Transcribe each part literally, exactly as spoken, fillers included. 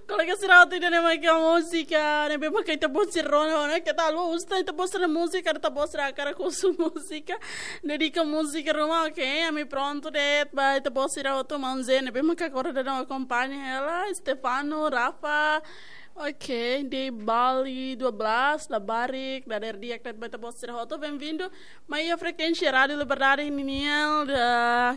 Kolega sira hotu, ida-ne'e mak múzika ne'ebé maka ita-boot sira rona ona, keta haluha uza ita-boot sira múzika, ita-boot sira hakarak husu múzika, dedika múzika ruma, oke, ami prontu de'it ba ita-boot sira hotu, maun Zé ne'ebé maka agora daudaun akompaña hela, Stefano, Rafa, oke, de Bali dua belas, labarik, dadeer di'ak de'it ba ita-boot sira hotu, bem-vindo, mai iha frekuénsia Rádiu Liberdade ninian,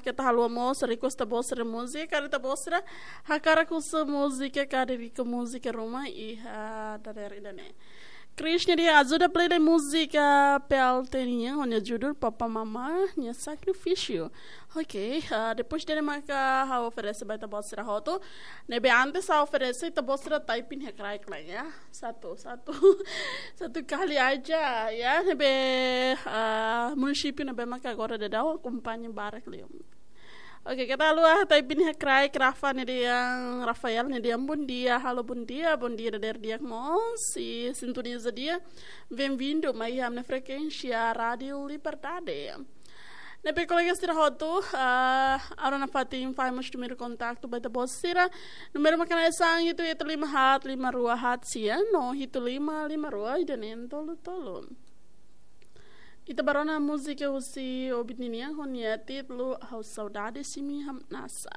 ita-boot sira request ita-boot sira múzika, ita-boot sira hakarak husu múzika, ka dedika múzika ruma iha dadeer ida-ne'e. Chris nia dehan ajuda play de'it múzika P L T nian, ho nia judul Papa Mama nia Sakrifísiu. Oke, ah, depois ida-ne'e maka ha'u oferese ba ita-boot sira hotu. Ne'ebé antes ha'u oferese, ita-boot sira type iha kraik lai ya. Satu, satu, satu kali aja ya. Ne'ebé, ah, munisípiu ne'ebé maka agora daudaun akompaña barak liu. Oke, keta haluha type iha kraik, Rafa nia dehan, Rafael nia dehan, bom dia, halo bom dia, bom dia dadeer di'ak mós, i sintoniza di'ak, bem-vindo mai iha ami-nia frekuénsia Rádiu Liberdade. Ne'ebé kolega sira hotu, ah, agora nafatin fó mós númeru kontaktu ba ita-boot sira, númeru maka hanesan hitu hitu lima haat lima rua haat sia, no hitu lima lima rua ida-ne'e tolu tolu. Ita bá rona múzika husi Obit ninian ho nia títulu Ha'u Saudade Simi Hamnasa.